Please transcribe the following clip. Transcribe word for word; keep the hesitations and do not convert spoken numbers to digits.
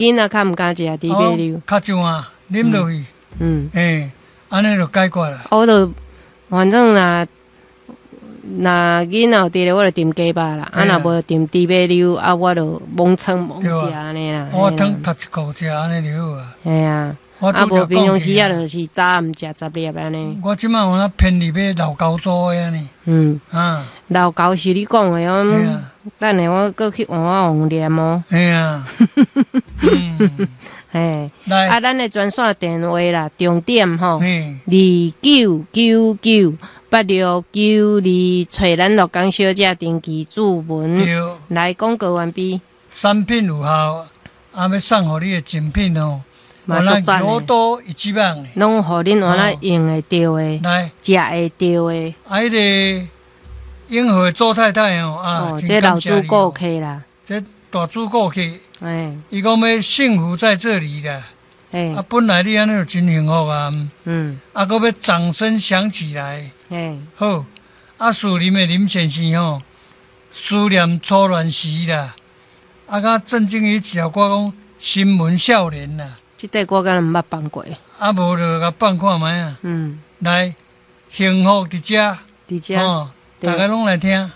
囡仔較毋敢食豬馬溜。較上啊，啉落去，嗯，嘿，按呢就解決啦。我就反正若若囡仔有佇咧，我就炖雞肉啦。啊，若無炖豬馬溜，啊，我就罔創罔食按呢啦。我湯讀一箍食按呢就好啊。嘿啊，啊無平常時啊，就是早暗食十粒按呢。我這擺有哪便宜買老高組的按呢。嗯。啊。老高是你講的哦。等下我閣去換我黃念哦。嘿啊。嘿。啊，咱的專線電話啦，重點吼，二九九九八六九二，揣咱鹿港小姐登記注文。來廣告完畢。產品有效，啊，欲送予你的贈品哦，嘛足讚的，多一級棒的，攏予恁換來用會著的，來食會著的。啊，彼个永和周太太哦，啊，這老主顧客啦，這大主顧客，哎，伊講欲幸福在這裡啦，哎，啊，本來你按呢就真幸福啊，嗯，啊，閣欲掌聲響起來，哎，好，啊，樹林的林先生吼，思念初戀時啦，啊，佮鄭經一條歌講新聞少年啦，這塊歌敢若毋捌放過，啊，無就共放看覓啊，嗯，來，幸福佇遮，佇遮，大家攏來聽。